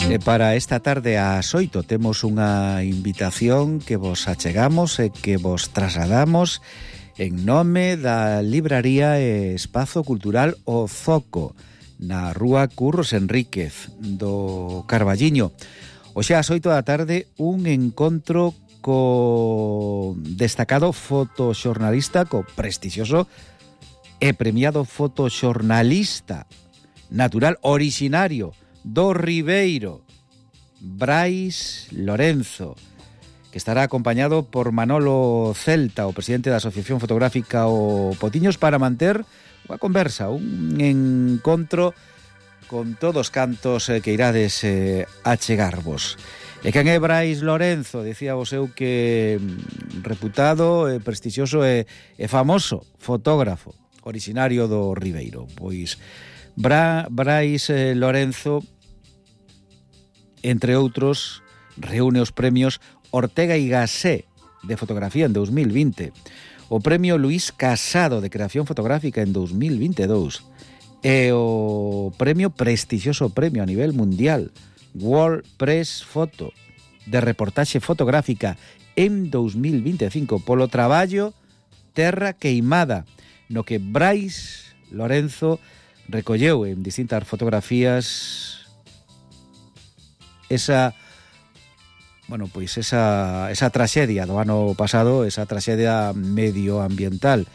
E para esta tarde ás 8 temos unha invitación que vos achegamos e que vos trasladamos en nome da libraría e espazo cultural O Zoco, na rúa Curros Enríquez do Carballiño. Hoxe ás 8 da tarde un encontro co destacado fotoxornalista, co prestixioso e premiado fotoxornalista natural originario do Ribeiro, Brais Lorenzo, que estará acompañado por Manolo Celta, o presidente da Asociación Fotográfica O Potiños, para manter unha conversa, un encontro con todos cantos que irades achegarvos. E quen é Brais Lorenzo? Dicía vos eu que reputado, prestixioso e famoso fotógrafo originario do Ribeiro. Pois Brais Lorenzo, entre outros, reúne os premios Ortega y Gasset de fotografía en 2020, o premio Luis Casado de creación fotográfica en 2022 e o prestixioso premio a nivel mundial World Press Photo de reportaxe fotográfica en 2025 polo traballo Terra Queimada, no que Brais Lorenzo recolleu en distintas fotografías esa traxedia do ano pasado, esa traxedia medioambiental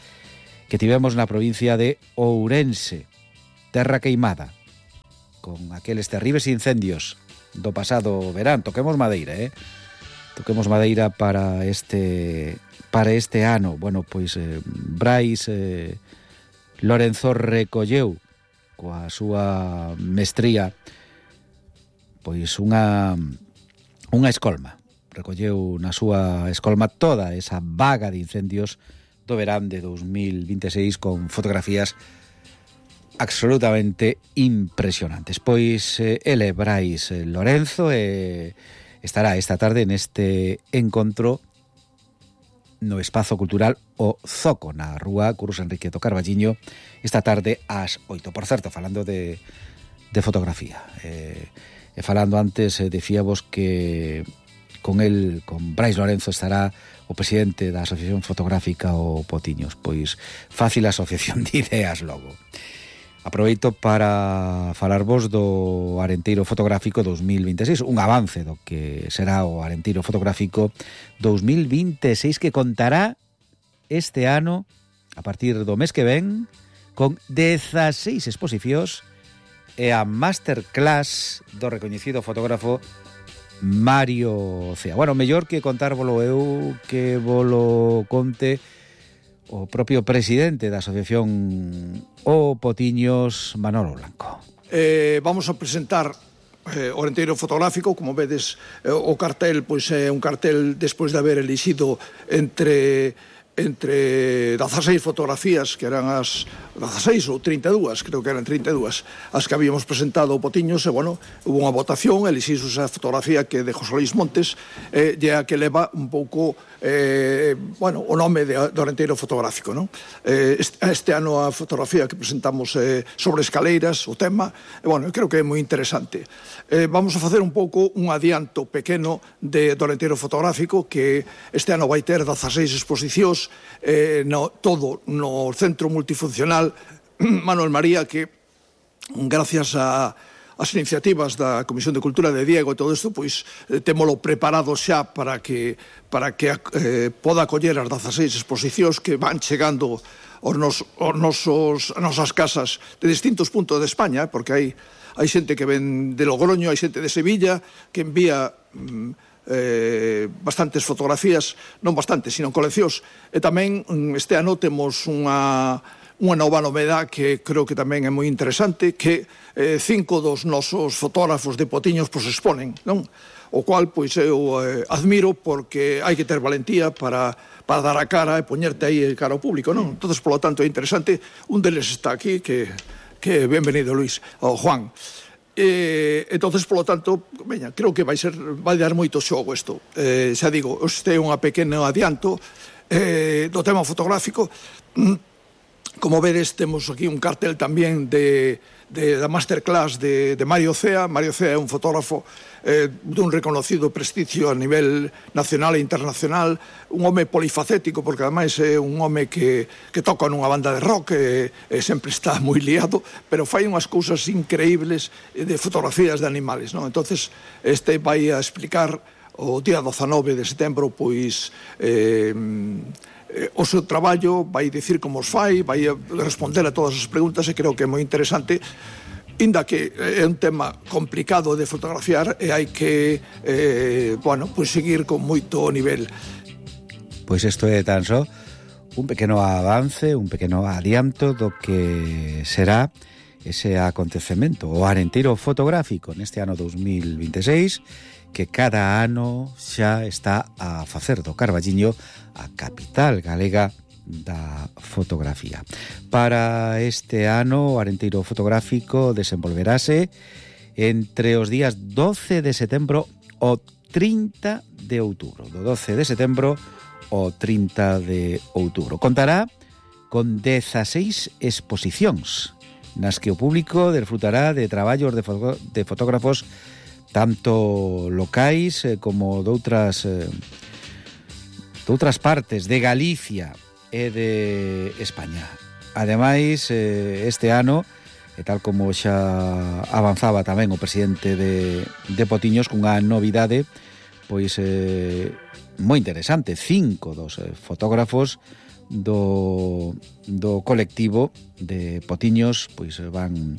que tivemos na provincia de Ourense, Terra Queimada, con aqueles terribles incendios do pasado verán. Toquemos madeira, toquemos madeira para este ano. Bueno, pois Brais Lorenzo recolleu coa súa mestría pois unha escolma. Recolleu na súa escolma toda esa vaga de incendios do verán de 2026 con fotografías absolutamente impresionantes. Pois ele, Brais Lorenzo, estará esta tarde neste encontro no espazo cultural O Zoco, na rúa Curros Enríquez do Carballiño, esta tarde ás 8. Por certo, falando de fotografía, e falando antes, decíamos que con Brais Lorenzo estará o presidente da Asociación Fotográfica O Potiños. Pois fácil asociación de ideas logo. Aproveito para falarvos do Arenteiro Fotográfico 2026, un avance do que será o Arenteiro Fotográfico 2026, que contará este ano, a partir do mes que ven, con 16 exposicións e a masterclass do recoñecido fotógrafo Mario Cea. Bueno, mellor que contárvolo eu, que volo conte o propio presidente da Asociación O Potiños, Manolo Blanco. Vamos a presentar o Arenteiro Fotográfico. Como vedes, o cartel pois é un cartel despois de haber elixido entre 16 fotografías, que eran as 16 ou 32, creo que eran 32 as que habíamos presentado o Potiños, e bueno, hubo unha votación, elixiu esa fotografía que de José Luis Montes, e a que leva un pouco o nome do Arenteiro Fotográfico, non? Este ano a fotografía que presentamos sobre escaleiras, o tema, e bueno, creo que é moi interesante. Vamos a facer un pouco un adianto pequeno do Arenteiro Fotográfico, que este ano vai ter 16 exposicións, todo no Centro Multifuncional Manuel María, que gracias as iniciativas da Comisión de Cultura de Diego e todo isto, pois témolo preparado xa para que poda acoller as 16 exposicións que van chegando as nosas casas de distintos puntos de España, porque hai xente que ven de Logroño, hai xente de Sevilla que envía bastantes fotografías, non bastantes, sino coleccións. E tamén este ano temos unha nova novedade que creo que tamén é moi interesante, que 5 dos nosos fotógrafos de Potiños pois exponen, non? O cual pois eu admiro, porque hai que ter valentía para dar a cara e poñerte aí cara ao público, non? Entonces, polo tanto, é interesante. Un deles está aquí, que benvenido, Luis, o Juan. Entonces, polo tanto, creo que vai dar moito xogo isto. Xa digo, este é unha pequena adianto do tema fotográfico. Como vedes, temos aquí un cartel tamén da masterclass de Mario Cea. Mario Cea é un fotógrafo dun reconocido prestigio a nivel nacional e internacional, un home polifacético, porque ademais é un home que toca nunha banda de rock e sempre está moi liado, pero fai unhas cousas increíbles de fotografías de animales, non? Entonces, este vai a explicar o día 19 de setembro, pois o seu traballo, vai dicir como os fai, vai responder a todas as preguntas, e creo que é moi interesante, inda que é un tema complicado de fotografiar e hai que pois seguir con moito nivel. Pois isto é tan só un pequeno avance, un pequeno adianto do que será ese acontecemento, o Arenteiro Fotográfico neste ano 2026, que cada ano xa está a facer do Carballiño a capital galega da fotografía. Para este ano, o Arenteiro Fotográfico desenvolverase entre os días 12 de setembro ao 30 de outubro. Do 12 de setembro ao 30 de outubro. Contará con 16 exposicións nas que o público desfrutará de traballos de fotógrafos tanto locais como doutras partes de Galicia e de España. Ademais, este ano, e tal como xa avanzaba tamén o presidente de Potiños, cunha novidade pois moi interesante, 5 dos fotógrafos do colectivo de Potiños pois van